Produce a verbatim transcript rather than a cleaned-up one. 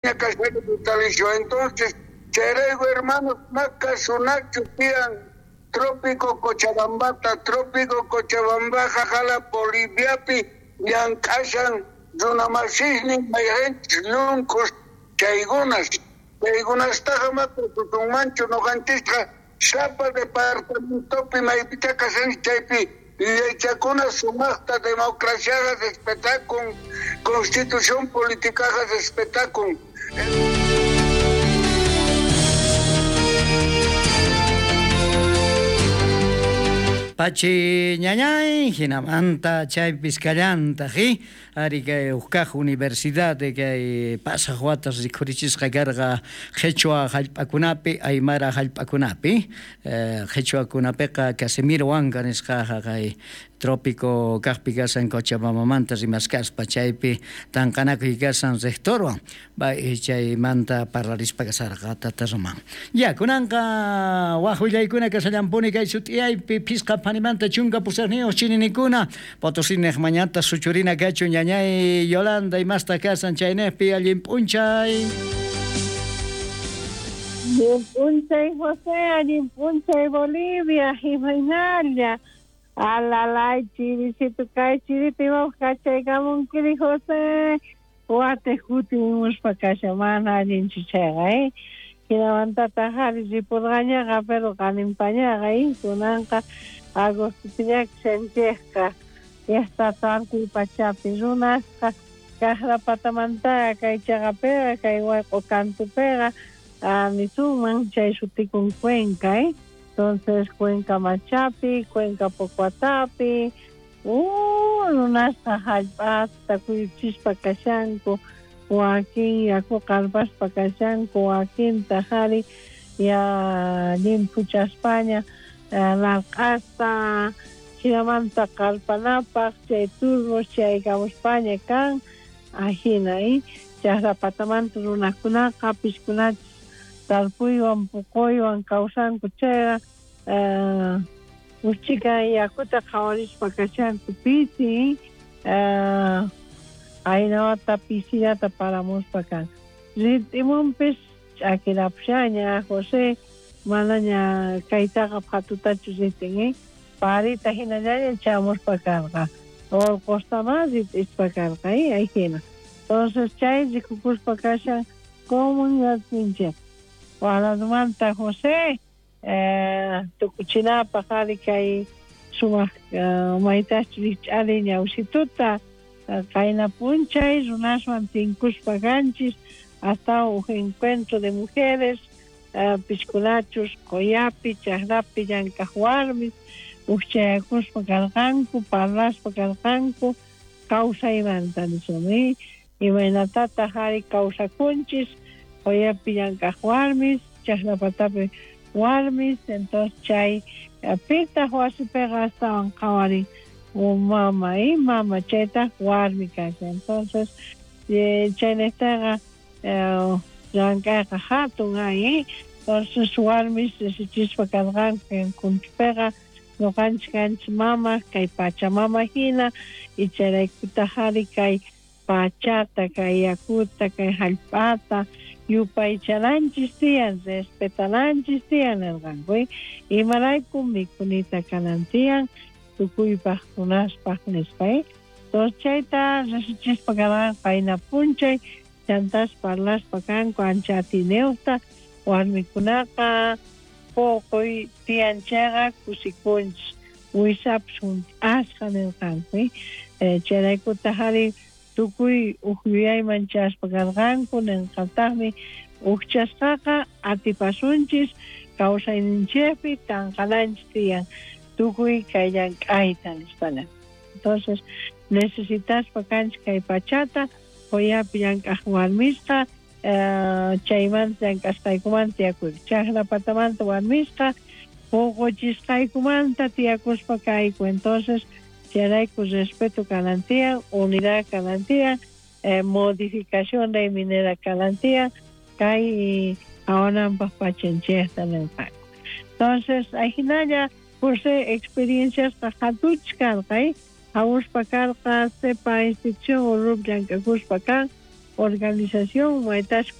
Vitalicio. Entonces, chayrayku hermanos, makasunachus tiyan Trópico Cochabambata, Trópico Cochabambaqa jala Boliviapi llank'ashan runamasisnin mayqinchis llunkus chaykunas, chaykunastaqa makasunmanchu noqanchisqa sapa departamentopi maypicha kashanchis chaypi yuyaychakuna sumaqta democraciaqa respetakun, constitución politicaqa respetakun. Pachi ñañay, hinamanta chaypis kallantaq, ari kay uqkaq universidad kay pasaq watas rikhurichisqa karqa qhichwa hallp'akunapi, aymara hallp'akunapi, qhichwakunapiqa Casimiro Huanca nisqaqa kay Trópico kaqpi kasan Cochabambamanta rimaskaspa chaypi tanqanakuy kasan rectorwan chaymanta parlarispa kasarqa tata Román. Ya kunanqa waj willaykuna kasallampuni kay sut'iyaypi phisqa phanimanta chunka pusaqniyuq chininikuna Potosí mañata suchurina kachun ñañay Yolanda imasta kasan chaynejpi allin p'unchay. Allin p'unchay José, allin p'unchay Bolivia, imaynalla. Alalay chirisito kay chirito imapaq kachaykamunkiri José, watej kutimuspa kasha mana allinchu chayqa eh. Hinamantataq ari ripurqañaqa pero qaninpañaqa eh, kunanqa agostopiña kashanchikqa llaqta tarpuy pachapi runasqa kaqra patamantaqa kay chaqapiqa kay wayq'u kantupiqa nisunman chay sutikun Cuenca eh. Entonces Cuenca Machapi, Cuenca Pocuatapi, uh, runasqa hallp'ata kuyuchispa kashanku, wakin yaku qarpaspa kashanku, wakintaq ari ya llimphuchaspaña larq'asta hinamanta qarpanapaq chay turbos chaykamuspaña kan, ajina eh, chaqra patamanta runakunaqa piskunachis tarpuywan puquywan kawsanku chayqa uchika yakuta qhawarispa kashanku pisi aynawata pisillata paramuspa kan. Rit'imunpis ch'akirapushaña José, manaña kaytaqa phatutachu ritin eh, parita hinallaña chamuspa karqa, urqustama rit'ispa karqa eh, ajina. Entonces chay rikukuspa kashan comunidadninchik. Waladumanta José, eh, tukuchinapaq ari kay sumaq maytachu rikch'ari ñawsituta qayna p'unchay runaswan tinkuspa kanchis hasta uj encuentro de mujeres piskunachus qoyapi chaqrapi llank'aq warmis ujchayakuspa karqanku parlaspa karqanku kawsaymanta nisun eh, imaynatataq ari kawsakunchis qoyapi llank'aq warmis chaqrapatapi warmis. Entonces chay pitaq wasipiqa astawan qhawarin mama eh, mama chaytaq warmi kashan. Entonces chaynejtaqa llank'ayqa hatun ay eh, entonces warmis risichispa karqanku encuentropiqa ñuqanchik kanchik mama kay pachamama hina y chayraykutaq ari kay pachata kay yakuta kay hallp'ata yupaychananchis tiyan, respetananchis tiyan nirqanku eh, imarayku mikhunita kanan tiyan tukuypaq runaspaq nispa eh. Entonces chayta risichispa karqanku qayna p'unchay chantas parlaspa kanku ancha atiniyuqta warmikunaqa puquy tiyan chayqa kusikunchis wisapis hunt'asqa nirqanku eh, chayraykutaq ari tukuy uj yuyayman chaspa karqanku ninqataqmi ujchasqaqa atipasunchis kawsayninchikpi tanqananchis tiyan tukuy kay llank'ayta nispana. Entonces necesitaspa kanchik kay pachata qoyapi llank'aq warmisqa chaymanta llank'asqaykumanta tiyakuyku chaqra patamanta warmisqa puquchisqaykumanta tiyakuspa kayku. Entonces chayrayku respeto kanan tiyan, unidad kanan tiyan, eh, modificación de minera kanan tiyan kay qhawananpaq pachanchikta ninqanku. Entonces ajinalla José experienciasqa hatuchis karqa eh, hamuspa karqa sepa institución urup llank'akuspa kan Organización maytas.